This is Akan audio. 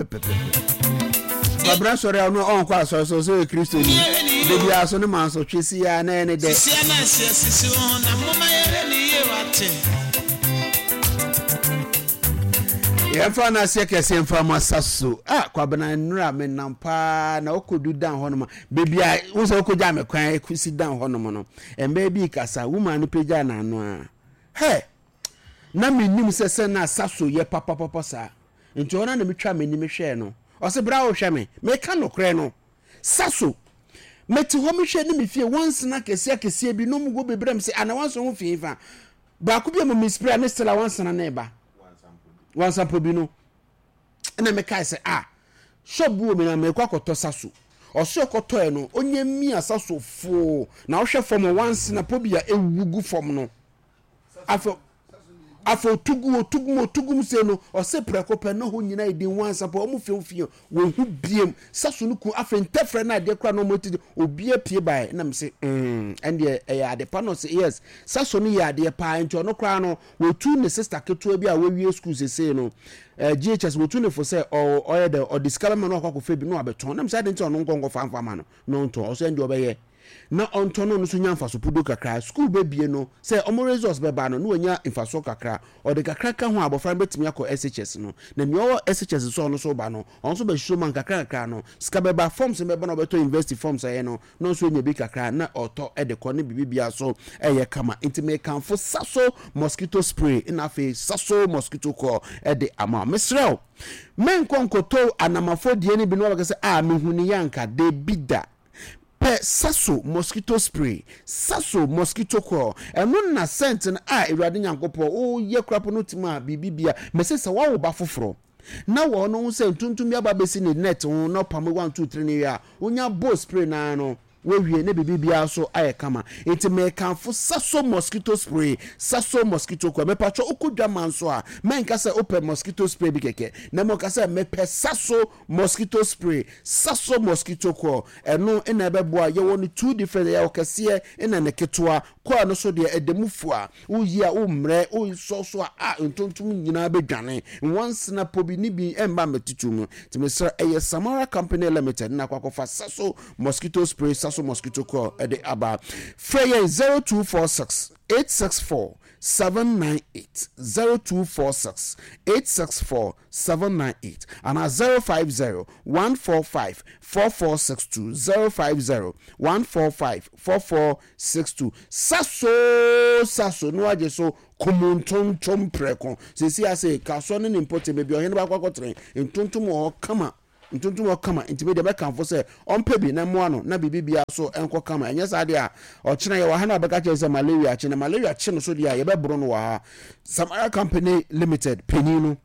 Pɛpɛpɛpɛ. Kwabena sɔre a ɔno ɔnkɔ asɔre so ɔsɛ ɔyɛ Kristoni. Da biara so ne mansotwe si a na ɛyɛ ne dɛ. Sisi a na ɛsɛ sisi wo ho na momma yɛhwɛ ne yie wate. Yɛmfa no aseɛ kɛseɛ mfa ma saso. Ah, Kwabena nnura menam paa na wokɔdu dan hɔnom a baabi a wo sɛ wokɔgya me kwan si dan hɔnom no mmaa bi kasa woman no pagya n'ano a hɛ na mennim sɛ sɛ na saso yɛ papapapa saa. Nti ɔno na metwaa m'ani mehwɛɛ no. Ɔse bra wo hwɛ me. Meka nokorɛ no. Saso. Mete hɔ mehwɛ ne me fie wansena akɛseɛ akɛseɛ bi na ɔmo wɔ bebree mese ana wansena ho fi fa. Baako bi a mo mispira ne Stella wansena ne ba. Wansampo bi no. Ɛna mekae sɛ ah shop bi wɔ mi na mekɔ akɔtɔ saso. Ɔse ɔkɔtɔɛ no onye mia saso foo na ɔhwɛ fam wansena po bi a ewu gu fam no. Afei afei otu gu otu gu mu otu gu mu sei no ɔse prɛko pɛ na hɔ nyinaa yɛ din wansa pɛ ɔmo fie fie wɔhu biem saso no ku afei ntɛfrɛ no adeɛ koraa na ɔmo ti obi apue bae na mese mm ɛndeɛ ɛyɛ ade pa na ɔse yes saso no yɛ adeɛ paa nti ɔno koraa no wɔtu ne sister ketewa bi a wɔawie school sesei no eh, GHS wɔtu ne fo sɛ ɔyɛ dɛ ɔde sika bɛma no akɔ akɔfɛ bi na wabɛtɔn na mese ade nti ɔno nkɔ nkɔfa mfa ma no na ɔntɔn ɔsɛ ɛndeɛ ɔbɛyɛ na ɔntɔ no no nso nya mfaso pudo kakra. Sukuu bɛbie no, sɛ wɔn results bɛba no, na wanya mfasoɔ kakra. Ɔde kakra ka ho a, abɔfra no bɛtumi akɔ SHS no. Na nea ɔwɔ SHS nso a ɔno nso reba no, ɔno nso bɛhyehyɛ mu a, nkakra nkakra no, sika bɛba, forms no bɛba na ɔbɛtɔ university forms a ɛyɛ no, na ɔno nso anya bi kakra na ɔtɔ de kɔ ne biribi biara nso ɛyɛ kama. Nti mekamfo Saso mosquito spray na afei Saso mosquito coil de ama wo. Mesrɛ wo, menkɔ nkɔtɔ anamafo deɛ no bi na wabɛka sɛ, ah, mehu ne yɛ anka. Dabi da. Pɛ Saso mosquito spray, Saso mosquito coil, ɛno na scent no a Awurade Nyankopɔn wo yɛ kora po no tim a biribi bia, mese sɛ wawo ba foforɔ na wɔ no ho sɛ ntontom bi aba bɛsi ne net ho na ɔpam 1 2 3 ne wie a, wonya bɔ spray no ara no wawie na biribi biara so ayɛ kama. Nti mekamfo Saso mosquito spray, Saso mosquito coil. Mepatwɔ wokɔ dwa ma nso a, mɛnka sɛ wopɛ mosquito spray bi kɛkɛ, na mmom ka sɛ mepɛ Saso Mosquito spray, Saso mosquito coil, ɛno na ɛbɛboa, yɛwɔ no two different, yɛwɔ kɛseɛ ɛna ne ketewa, coil no so deɛ ɛda mu fua, woyi a wommrɛ, wosɔ so a a ntontom nyinaa bɛdwane, nwansena po bi ne bi ɛmma mmɛtutu mu, nti mesrɛ ɛyɛ Samara Company Limited na akɔ akɔfa Saso mosquito spray, Saso mosquito coil ɛde aba, frɛ yɛn 0246 864 798, 0246 864 798 anaa 050 145 4462, 050 145 4462. Sa so sa so na wagye so kum ntontom prɛko. Seesei ase Kasoa ne ne mpɔtam baabi a ɔhene baako akɔtene ntontom wɔ hɔ kama. Ntontom wɔ hɔ kama nti me deɛ mɛkamfo sɛ ɔmpɛ bi na mmoa no na biribi biara so nkɔ kama. Ɛnyɛ saa deɛ a ɔkyena yɛwɔ ha na ɔbɛka kyerɛ sɛ malaria akye na malaria kye no so deɛ a yɛbɛboro no wɔ ha. Samara Company Limited panin no.